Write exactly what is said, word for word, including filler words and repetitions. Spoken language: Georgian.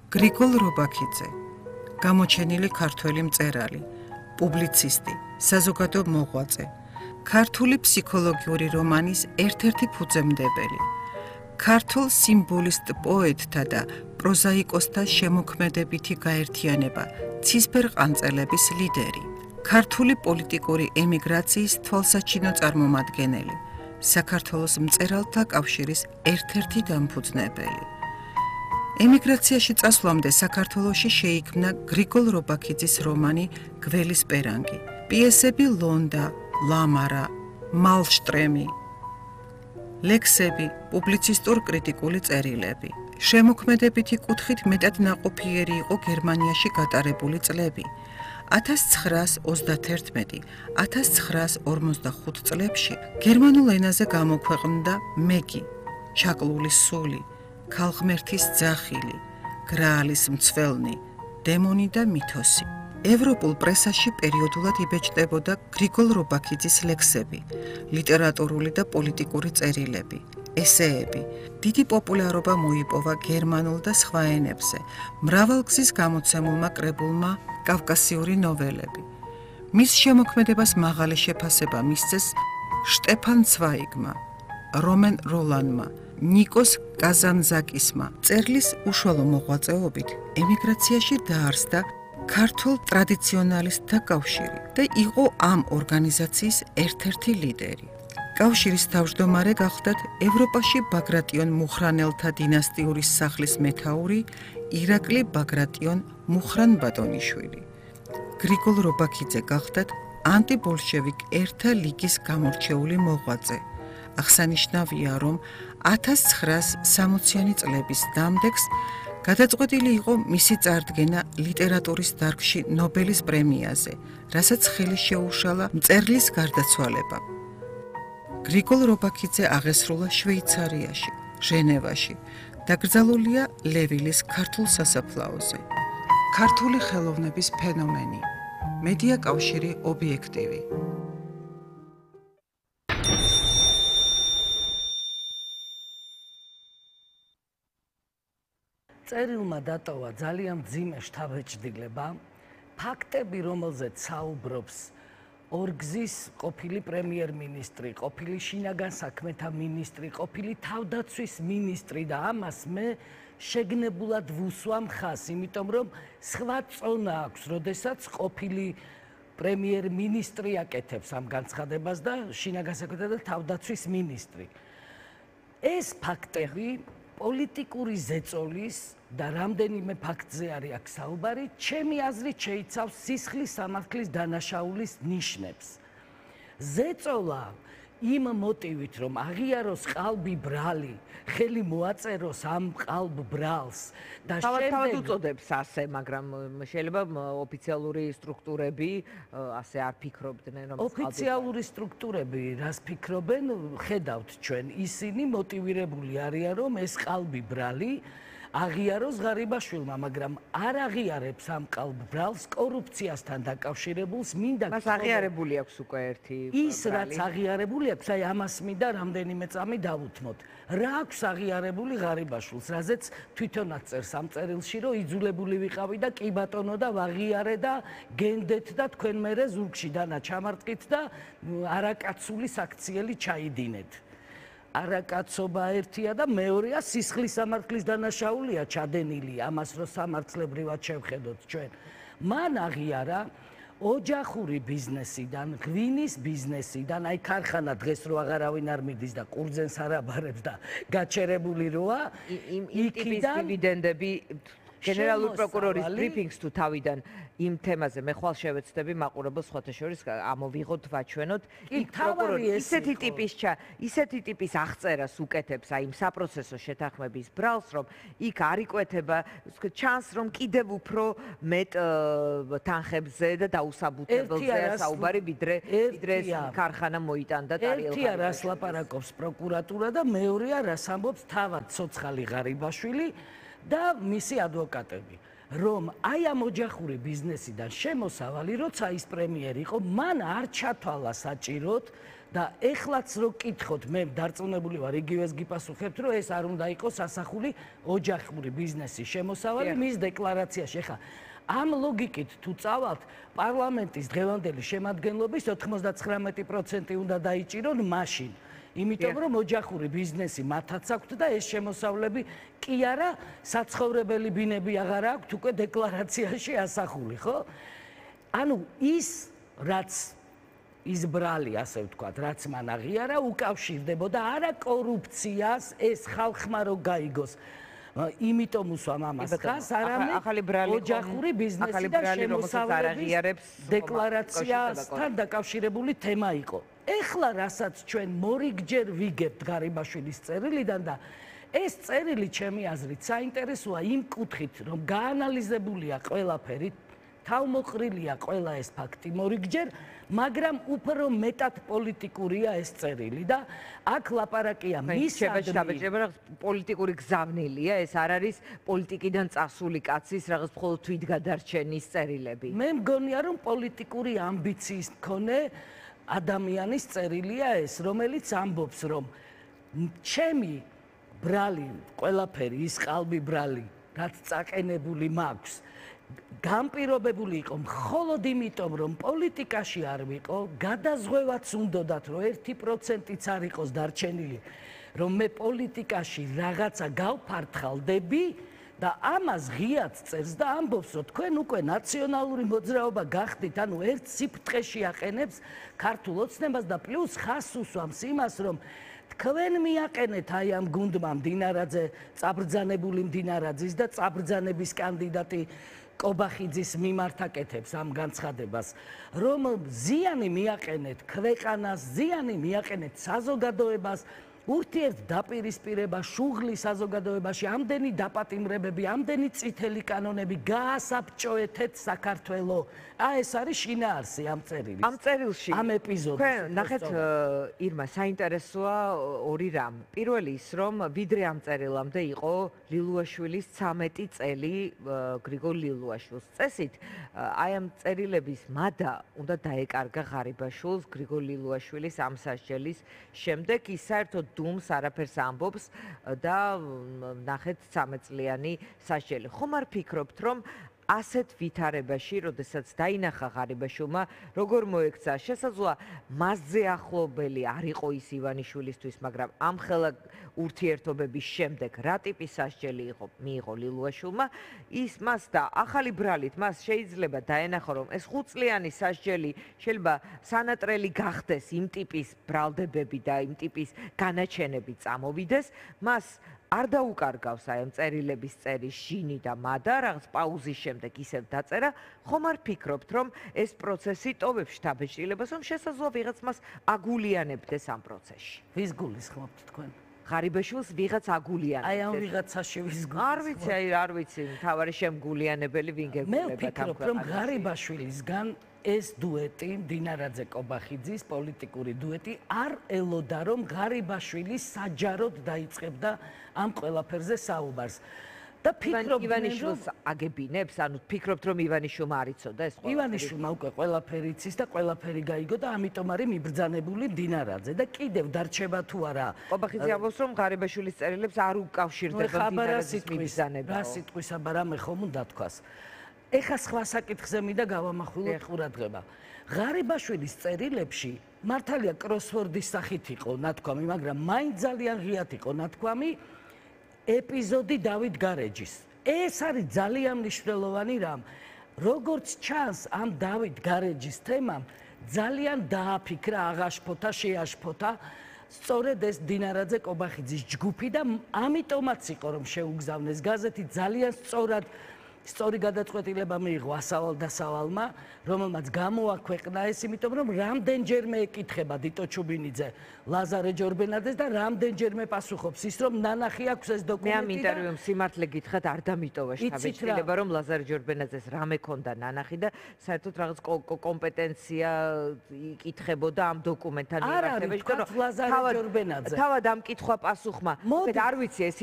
გრიგოლ რობაქიძე, გამოჩენილი ქართველი მწერალი, პუბლიცისტი, საზოგადო მოღვაწე, ქართული ფსიქოლოგიური რომანის ერთ-ერთი ფუძემდებელი, ქართულ სიმბოლისტ პოეტთა და პროზაიკოსთა შემოქმედებითი გაერთიანება, ცისფერყანწელების ლიდერი, ქართული პოლიტიკური ემიგრაციის თვალსაჩინო წარმომადგენელი, საქართველოს მწერალთა კავშირის ერთ-ერთი დამფუძნებელი. ემიგრაციაში წასვლამდე საქართველოში შეიქმნა გრიგოლ რობაქიძის რომანი გველის პერანგი, პიესები ლონდა, ლამარა, მალშტრემი, ლექსები, პუბლიცისტურ-კრიტიკული წერილები. შემოქმედებითი კუთხით მეტად ნაყოფიერი იყო გერმანიაში გატარებული წლები. ათას ცხრაას ოცდათერთმეტი - ათას ცხრაას ორმოცდახუთ წლებში გერმანულ ენაზე გამოქვეყნდა მეგი, ჩაკლული სული, ქალღმერთის ძახილი, გრაალის მცველნი, დემონი და მითოსი. ევროპულ პრესაში პერიოდულად იბეჭდებოდა გრიგოლ რობაქიძის ლექსები, ლიტერატურული და პოლიტიკური წერილები, ესეები. დიდი პოპულარობა მოიპოვა გერმანულ და სხვა ენებზე, მრავალგზის გამოცემულმა კრებულმა კავკასიური ნოველები. მის შემოქმედებას მაღალი შეფასება მისცეს შტეფან ცვაიგმა, რომენ როლანმა, ნიკოს კაზანძაკისმა. მწერლის უშუალო მოღვაწეობით ემიგრაციაში დაარსდა ქართულ ტრადიციონალისტთა კავშირი და იყო ამ ორგანიზაციის ერთ-ერთი ლიდერი. კავშირის თავმჯდომარე გახლდათ ევროპაში ბაგრატიონ მუხრანელთა დინასტიური სახლის მეთაური ირაკლი ბაგრატიონ მუხრან-ბატონიშვილი. გრიგოლ რობაქიძე გახლდათ ანტიბოლშევიკ ერთა ლიგის გამორჩეული მოღვაწე. აღსანიშნავია, რომ ათას ცხრაას სამოციანი წლების დამდეგს გადაწყვეტილი იყო მისი წარდგენა ლიტერატურის დარგში ნობელის პრემიაზე, რასაც ხელი შეუშალა მწერლის გარდაცვალებამ. გრიგოლ რობაქიძე აღესრულა შვეიცარიაში, ჟენევაში, დაკრძალულია ლევილის ქართულ სასაფლაოზე. ქართული ხელოვნების ფენომენი, მედია კავშირი ობიექტივი. წერილმა დატოვა ძალიან მძიმე შთაბეჭდილება, ფაქტები, რომელზეც საუბრობს ორგზის ყოფილი პრემიერ-მინისტრი, ყოფილი შინაგან საქმეთა მინისტრი, ყოფილი თავდაცვის მინისტრი და ამას მე შეგნებულად ვუსვამ ხას, იმიტომ რომ სხვა წონა აქვს, როდესაც ყოფილი პრემიერ-მინისტრი აკეთებს ამ განცხადებას და შინაგან საქმეთა და თავდაცვის მინისტრი. ეს ფაქტები პოლიტიკური ზეწოლის და რამდენიმე ფაქტზე არის აქ საუბარი, ჩემი აზრით შეიცავს სისხლის სამართლის დანაშაულის ნიშნებს. ზეწოლა იმ მოტივით, რომ აღიაროს ყალბი ბრალი, ხელი მოაწეროს ამ ყალბ ბრალს და თავად უწოდებს ასე, მაგრამ შეიძლება ოფიციალური სტრუქტურები ასე არ ფიქრობდნენ, რომ ოფიციალური სტრუქტურები რას ფიქრობენ, ხედავთ ჩვენ, ისინი მოტივირებული არიან, რომ ეს ყალბი ბრალი აღიაროს ღარიბაშვილმა, მაგრამ არ აღიარებს ამ ყალბ ბრალს კორუფციასთან დაკავშირებულს, მინდა მას აღიარებული აქვს უკვე ერთი ის რაც აღიარებული აქვს, აი ამას მინდა რამდენიმე წამი დავუთმოთ. რა აქვს აღიარებული ღარიბაშვილს, რაზეც თვითონაც წერს ამ წერილში, რომ იძულებული ვიყავი და კი ბატონო და ვაღიარე და გენდეთ და თქვენ მერე ზურგში დანა ჩამარტყით და არაკაცული საქციელი ჩაიდინეთ. არაკაცობა ერთია და მეორეა სისხლის სამართლის დანაშაულია ჩადენილი, ამას რო სამართლებრივად შევხედოთ ჩვენ. მან აღიარა ოჯახური ბიზნესიდან, ღვინის ბიზნესიდან, აი ქარხანა დღეს რო აღარავინ არ მიდის და ყურძენს არ აბარებს და გაჩერებული როა, იმ ტიპის დივიდენდები გენერალური პროკურორის ბრიფინგს თუ თავიდან იმ თემაზე მე ხვალ შევეცდები მაყურებელს სხვათა შორის ამოვიღოთ, ვაჩვენოთ. იქ პროკურორი ისეთი ტიპის ისეთი ტიპის აღწერას უკეთებს აი იმ საპროცესო შეთანხმების ბრალს, რომ იქ არ იკვეთება, ჩანს რომ კიდევ უფრო მეტ თანხებზე და დაუსაბუთებელზეა საუბარი, ვიდრე ვიდრე ქარხანა მოიტანდა ტარიელხანით. ერთია რას ლაპარაკობს პროკურატურა და მეორეა რას ამბობს თავად ცოცხალი ღარიბაშვილი და მისი ადვოკატები. რომ აი ამ ოჯახური ბიზნესიდან შემოსავალი, როცა ის პრემიერი იყო, მან არ ჩათვალა საჭიროდ და ეხლაც რო კითხოთ, მე დარწმუნებული ვარ, იგივეს გიპასუხებთ, რომ ეს არ უნდა იყოს ასახული ოჯახური ბიზნესის შემოსავალი მის დეკლარაციაში. ეხლა ამ ლოგიკით თუ წავალთ, პარლამენტის დღევანდელი შემადგენლობის ოთხმოცდათხრამეტი პროცენტი უნდა დაიჭირონ მაშინ. იმიტომ რომ ოჯახური ბიზნესი მათაც აქვთ და ეს შემოსავლები კი არა საცხოვრებელი ბინები აღარ აქვთ უკვე დეკლარაციაში ასახული, ხო? ანუ ის რაც ის ბრალი, ასე ვთქვათ, რაც მან აღიარა, უკავშირდებოდა არა კორუფციას, ეს ხალხმა რო გაიგოს. იმიტომ უსვამ ამას ხას, არამედ ოჯახური ბიზნესი და შემოსავლების დეკლარაციასთან დაკავშირებული თემა იყო. ეხლა რასაც ჩვენ მორიგჯერ ვიგებთ ღარიბაშვილის წერილიდან და ეს წერილი ჩემი აზრით საინტერესოა იმ კუთხით, რომ გაანალიზებულია ყველაფერი, თავმოყრილია ყველა ეს ფაქტი მორიგჯერ, მაგრამ უფრო მეტად პოლიტიკურია ეს წერილი და აქ ლაპარაკია მისადმი პოლიტიკური გზავნილია, ეს არ არის პოლიტიკიდან წასული კაცის რაღაც მხოლოდ თვითგადარჩენის წერილები. მე მგონია რომ პოლიტიკური ამბიციის მქონე ადამიანის წერილია ეს, რომელიც ამბობს, რომ ჩემი ბრალი, ყველაფერი ის ყალბი ბრალი, რაც წაყენებული მაქვს, განპირობებული იყო მხოლოდ იმიტომ, რომ პოლიტიკაში არ ვიყო, გადაზღვევაც უნდოდათ, რომ ერთი პროცენტიც არ იყოს დარჩენილი, რომ მე პოლიტიკაში რაღაცა გავფართხალდები და ამას ღიად წერს და ამბობს, რომ თქვენ უკვე ნაციონალური მოძრაობა გახდით, ანუ ერთ სიფრთხეში აყენებს ქართულ ოცნებას და პლუს ხას უსვამს იმას, რომ თქვენ მიაყენეთ აი ამ გუნდმა მდინარაძე, წაბრძანებული მდინარაძის და წაბრძანების კანდიდატი კობახიძის მიმართ აკეთებს ამ განცხადებას, რომ ზიანი მიაყენეთ ქვეყანას, ზიანი მიაყენეთ საზოგადოებას, ურთიერთდაპირისპირება, შუღლი საზოგადოებაში, ამდენი დაპატიმრებები, ამდენი წითელი კანონები გაასაბჭოეთეთ საქართველო. აი ეს არის შინაარსი ამ წერილის. ამ წერილში ამ ეპიზოდში. თქვენ ნახეთ, ირმა, საინტერესოა ორი რამ. პირველი ის, რომ ვიდრე ამ წერილამდე იყო ლილუაშვილის ცამეტი წელი გრიგოლ ლილუაშვილს. წესით, აი ამ წერილების მადა უნდა დაეკარგა ღარიბაშვილს გრიგოლ ლილუაშვილის ამ სასჯელის შემდეგ, ის საერთოდ დუმს არაფერს ამბობს და ნახეთ ცამეტწლიანი სასჯელი. ხომ არ ფიქრობთ, რომ ასეთ ვითარებაში, როდესაც დაინახა ღარიბაშვილმა, როგორ მოექცა, შესაძლოა მასზე ახლობელი არ იყო ის ივანიშვილისთვის, მაგრამ ამხელა ურთიერთობების შემდეგ რა ტიპის სასჯელი იყო მიიღო ლილუაშვილმა, ის მას და ახალი ბრალით მას შეიძლება დაენახა, რომ ეს ხუთწლიანი სასჯელი შეიძლება სანატრელი გახდეს იმ ტიპის ბრალდებები და იმ ტიპის განაჩენები წამოვიდეს, მას არ დაუკარგავს აი ამ წერილების წერის ჟინი და მადა, რაღაც პაუზის შემდეგ ისევ დაწერა, ხომ არ ფიქრობთ, რომ ეს პროცესი ტოვებს შთაბეჭდილებას, რომ შესაძლოა ვიღაც მას აგულიანებდეს ამ პროცესში. ვის გულისხმობთ თქვენ? ღარიბაშვილს ვიღაც აგულიანებდეს. აი ამ ვიღაცაში ვის გულისხმობთ? არ ვიცი, აი არ ვიცი, მთავარი შემგულიანებელი ვინ გეგმდება მე ვფიქრობ, რომ ღარიბაშვილისგან ეს დუეტი, მდინარაძე კობახიძის პოლიტიკური დუეტი არ ელოდა, რომ ღარიბაშვილი საჯაროდ დაიწყებდა ამ ყველაფერზე საუბარს. და ფიქრობ ივანიშვილს აგებინებს, ანუ ფიქრობთ, რომ ივანიშვილმა არ იცოდა ეს ყველაფერი? ივანიშვილმა უკვე ყველაფერი იცის და ყველაფერი გაიგო და ამიტომ არის მიბრძანებული მდინარაძე და კიდევ დარჩება თუ არა. კობახიძე ამბობს, რომ ღარიბაშვილის წერილებს არ უკავშირდება მდინარაძის მიბრძანება. რა სიტყვის აბარა მე ხომ უნდა თქვას. ეხა სხვა საკითხზე მინდა გავამახვილოთ ყურადღება. ღარიბაშვილის წერილებში მართალია კროსვორდის სახით იყო ნათქვამი, მაგრამ მაინც ძალიან ღიად იყო ნათქვამი ეპიზოდი დავით გარეჯის. ეს არის ძალიან მნიშვნელოვანი რამ. როგორც ჩანს, ამ დავით გარეჯის თემამ ძალიან დააფიქრა, აღაშფოთა, შეაშფოთა სწორედ ეს დინარაძე კობახიძის ჯგუფი და ამიტომაც იყო, რომ შეუგზავნეს გაზეთი ძალიან სწორად სწორი გადაწყვეტილება მიიღო ასავალ დასავალმა, რომელმაც გამოაქვეყნა ეს, იმიტომ რომ რამდენჯერმე ეკითხება დიტო ჩუბინიძე ლაზარე ჯორბენაძეს და რამდენჯერმე პასუხობს ის, რომ ნანახი აქვს ეს დოკუმენტი. მე ამ ინტერვიუმ სიმართლე გითხრათ, არ დამიტოვა შთაბეჭდილება, რომ ლაზარე ჯორბენაძეს რამე ქონდა ნანახი და საერთოდ რაღაც კომპეტენცია იკითხებოდა ამ დოკუმენტთან მიმართებაში, რომ ლაზარე ჯორბენაძე. თავად ამ კითხვა პასუხმა. არ ვიცი ეს